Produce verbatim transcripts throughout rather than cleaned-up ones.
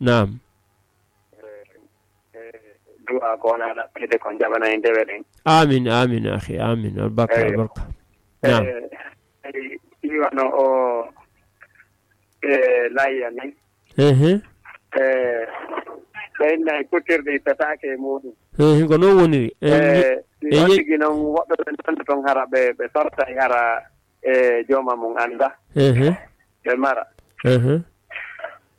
Naam. Eh, eh, du'a ko wona ɗaɓɓede ko jaɓana en dewe ɗen. Amin, amin, akhi, amin. Albarka, eyyo. Albarka. Naam. Eh, eh, ɗi wano o, eh, layya ni. Ehe. Eh, ɓe inna e kuttirɗe petaake e muɗum. Ehe, ko noon woniri. En Eh, mi-, ɗi en on ye- tigi noon woɓɓe ɓe nanndo toon hara ɓe, ɓe sortay hara e jooma mum annda. Ehe. Ɓe mara. Ehe.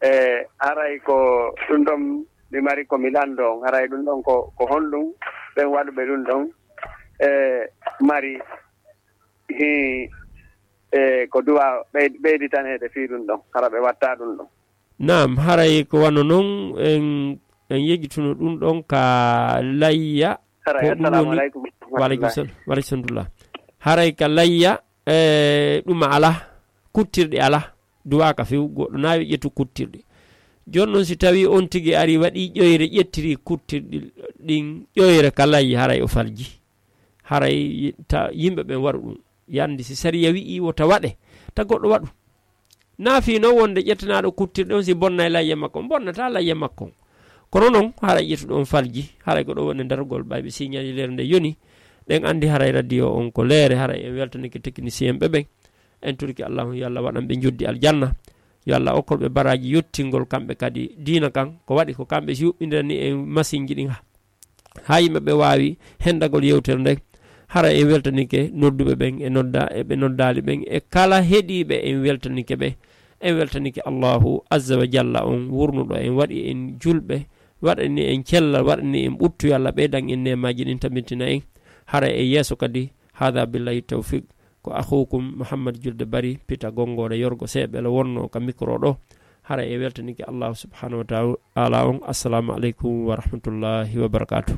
E haray ko ɗum ɗon mi mari ko mi lanndo on. Haray ɗum ɗon ko, ko honɗum ɓen waɗuɓe ɗum ɗon? E mari hi, e ko duwa ɓey-, ɓeyditaneede fii ɗum ɗon. Hara ɓe watta ɗum ɗon. Naam, haray ko wano non en, en yejjituno ɗum ɗon ka layya. Haray, ko ɗum assalamu woni aleykum. Wa aleykum salam. Wa aleykum salam. Haray ka layya, e, ɗum ala, kuttirɗe ala, duwaaka few, goɗɗo naawi ƴettu kuttirɗe. Jooni non si tawi on tigi ari waɗi ƴoyre, ƴettiri kuttirɗi ɗin ƴoyre ka layya, haray o falji. Haray ta-, yimɓe ɓen waɗu ɗum. Yandi si sariya wi'i wota waɗe, ta goɗɗo waɗu. Naa fii non wonde ƴettanaaɗo kuttirɗe on si bonnay layya makko on, bonnataa layya makko on. Kono non, haray ƴettuɗo on falji, haray ko ɗo woni darugol ɓay ɓe siñali leere nde yoni, ɗen andi haray radio on ko leere, haray en weltanike technicien ɓe ɓen. En turki Allahu yo Allah waɗan ɓe njoddi aljanna. Yo Allah okkol ɓe baraaji yottingol kamɓe kadi diina kan, ko waɗi ko kamɓe si yuɓɓindirani en masinji ɗin ha. Haa yimɓe ɓe waawi hendagol yewtere nden. Hara en weltanike nodduɓe ɓen e nodda-, e ɓe noddaali ɓen e kala heɗiiɓe en weltanike ɓe. En weltanike Allahu azza wa jalla on wurnuɗo en, waɗi en julɓe, waɗani en cellal, waɗani en ɓuttu. Yo Allah ɓeydan en neemaaji ɗin, tabitina en. Hara e yeeso kadi, hada billahi tawfiq. Ko akhukum Muhammad Julde Bari, Pita Gonngoore Yorgo Seeɓelo wonno ka mikro ɗo. Hara e weltanike Allahu subhanahu wa ta'ala on. Assalamu aleykum wa rahmatullahi wa barakatuh.